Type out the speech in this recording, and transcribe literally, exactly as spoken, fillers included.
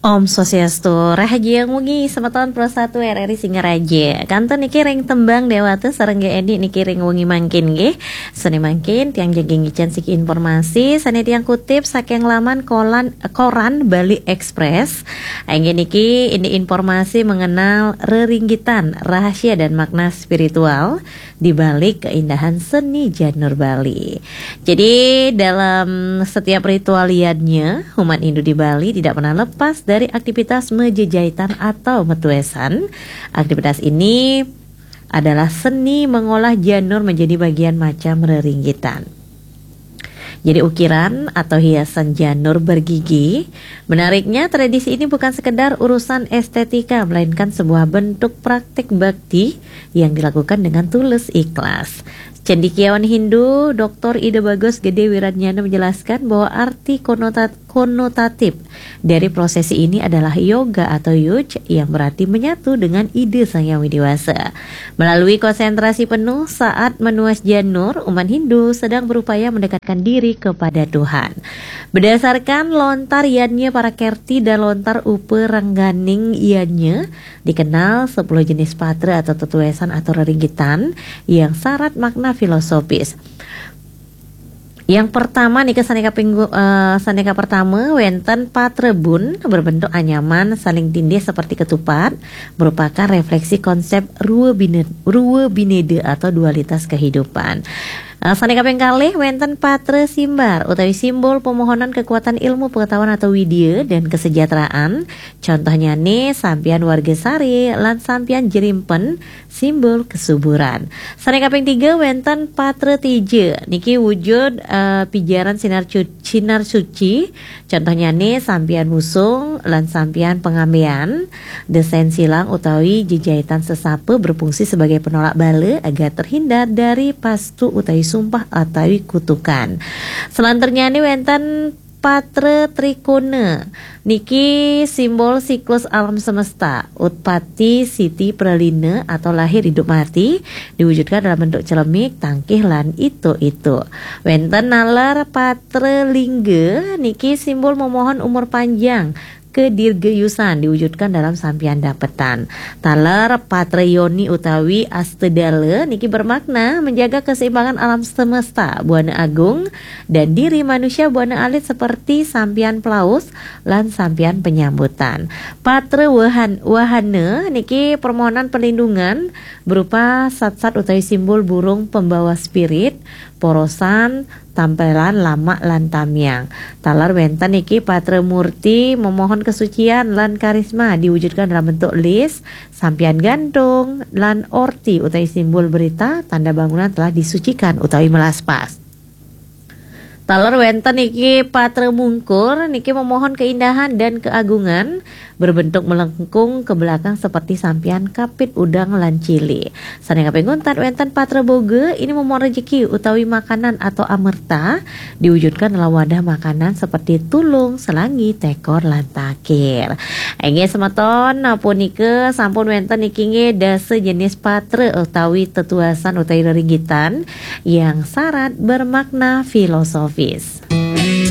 Om Swastiastu, rahajeng wengi semeton Pro satu R R I Singaraja. Kantun niki ring tembang Dewata sareng G Edi niki ring wengi mangkin nggih. Sane mangkin tiang jaga ngicen siki informasi sane tiang kutip saking laman kolan, koran Bali Express. Inggih niki ini informasi mengenal reringgitan, rahasia dan makna spiritual di balik keindahan seni janur Bali. Jadi dalam setiap ritual yadnya, umat Hindu di Bali tidak pernah lepas dari aktivitas mejejahitan atau metuesan. Aktivitas ini adalah seni mengolah janur menjadi bagian macam reringgitan. Jadi ukiran atau hiasan janur bergigi. Menariknya, tradisi ini bukan sekedar urusan estetika, melainkan sebuah bentuk praktik bakti yang dilakukan dengan tulus ikhlas. Cendekiawan Hindu, Doktor Ida Bagus Gede Wiradnyana menjelaskan bahwa arti konotat-, konotatif dari prosesi ini adalah yoga atau yuj yang berarti menyatu dengan ide Sang Yang Widi Wasa. Melalui konsentrasi penuh saat menuas janur, umat Hindu sedang berupaya mendekatkan diri kepada Tuhan. Berdasarkan lontar yadnya para kerti dan lontar uperengganing yadnya, dikenal sepuluh jenis patra atau tetuesan atau reringgitan yang syarat makna filosofis. Yang pertama nika sane kaping, eh, sane kapertama wenten patra bun berbentuk anyaman saling tindih seperti ketupat, merupakan refleksi konsep rua bine-, rua bineda atau dualitas kehidupan. Eh, sane kaping kalih wenten patra simbar utawi simbol pemohonan kekuatan ilmu pengetahuan atau widya dan kesejahteraan. Contohnyane sampian warga sare lan sampian jerimpen simbol kesuburan. Sane kaping tiga wenten patra tija. Niki wujud, eh, pijaran sinar cu-, sinar suci. Contohnyane sampian musung lan sampian pengambean. Desain silang utawi jejahitan sesapa berfungsi sebagai penolak bala agar terhindar dari pastu utawi sumpah utawi kutukan. Selanturnyane wenten patra trikona. Niki simbol siklus alam semesta, utpati, siti, pralina atau lahir hidup mati diwujudkan dalam bentuk celemik, tangkih lan itu-itu. Wenten nalar patra lingga, niki simbol memohon umur panjang, kedirgayusan diwujudkan dalam sampian dapetan. Taler patra yoni utawi astedala niki bermakna menjaga keseimbangan alam semesta, buana agung, dan diri manusia buana alit seperti sampian pelaus lan sampian penyambutan. Patra wahan-, wahana niki permohonan perlindungan berupa satsat utawi simbol burung pembawa spirit, porosan, tampelan, lamak, lan tamiang. Taler wenten niki patra murti memohon kesucian lan karisma diwujudkan dalam bentuk lis, sampian gantung, lan orti utawi simbol berita tanda bangunan telah disucikan utawi melaspas. Taler wenten niki patra mungkur niki memohon keindahan dan keagungan berbentuk melengkung ke belakang seperti sampian kapit udang lan cili. Sane kaping untat wenten patra boga ini memohon rejeki utawi makanan atau amerta diwujudkan dalam wadah makanan seperti tulung, selangi, tekor, lan takir. Inggih semeton, punika sampun wenten niki nggih dasa jenis patra utawi tetuasan utawi reringgitan yang syarat bermakna filosofis.